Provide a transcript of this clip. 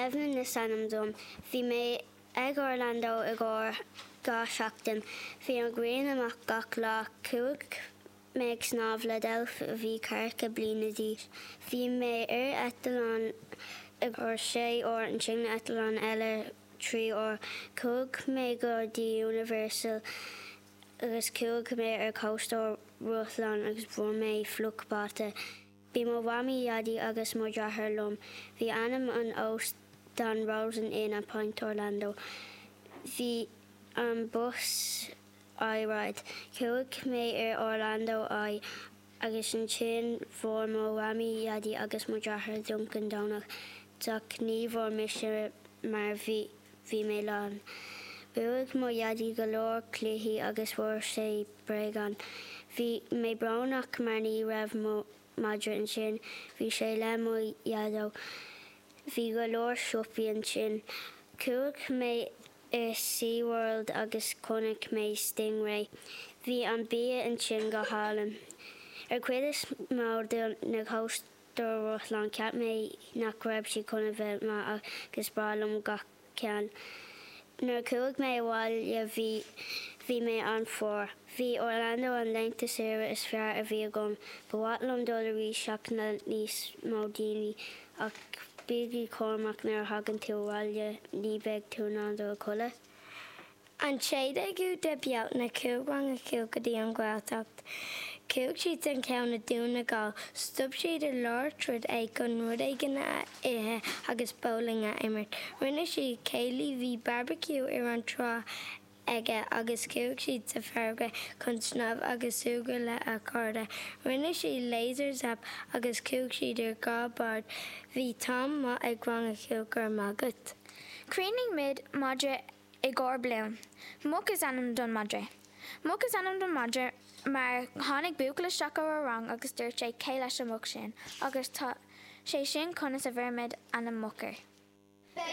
Evelyn is ainm dom. Bhí mé ag Orlando i gcomhair 2 seachtain. Bhí an ghrian amach gach lá. Chuaigh mé ag snámh le deilf a bhí ceathracha bliana d'aois. Bhí mé ar eitleán i gcomhair sé uair ansin eitleán eile 3 uair. Chuaigh mé go dtí Universal agus chuaigh mé ar cóstóir rothláin agus fuair mé fliuch bata. Bhí mo mhamaí, dhaidí agus mo dheartháir liom. Bhí ainm an óstán Rosen Inn at Point Orlando. Bhí an bus Eye Ride. Chuaigh mé ar Orlando Eye agus ansin fuair mo mhamaí, dhaidí agus mo dheartháir Dunkin Donuts ach ní bhfuair mise mar bhí bhí mé lán. Bhuaigh mo dhaidí go leor cluichí agus fuair sé bréagán. Bhí mé brónach mar ní raibh mo madra ansin, bhí sé le mo dhaideo. Bhí go leor siopaí ansin. Chuaigh mé i Sea World agus chonaic mé Stingray. Bhí an bia ansin go hálainn. Ar cuid is mó de na cóstair rothláin cheap mé nach raibh siad chun a bheith maith ach is breá liom gach ceann. Nuair a chuaigh mé abhaile bhí bhí mé an-fhuar. Bhí Orlando an laethanta saoire is fearr a bhí agam. Ba mhaith liom dul arís ach le níos mó daoine ach bígí cúramach nuair a thagann tú abhaile ní bheidh tú in ann dul a chodladh. An 16ú de Bealtaine chuaigh rang a 5 go dtí an Ghaeltacht. Chuaigh siad an ceann i Dún na Gall. Stop siad i lár troid é chun rud éigin a ithe agus bowling a imirt. Rinne siad céilí, bhí barbecue ar an trá aige agus chuaigh siad sa farraige chun snámh agus súgradh le a chairde. Rinne siad laser zap agus chuaigh siad ar 2 bád. Bhí t-am maith ag rang a 5 Go raibh maith agat. Cheannaigh muid madra i gcomhair Bloom. Muc is ainm don madra. Muc is ainm don madra mar tháinig buachaill isteach ar ár rang agus dúirt sé cé leis an muc sin agus tá sé sin conas a bhfuair muid ainm Muc air.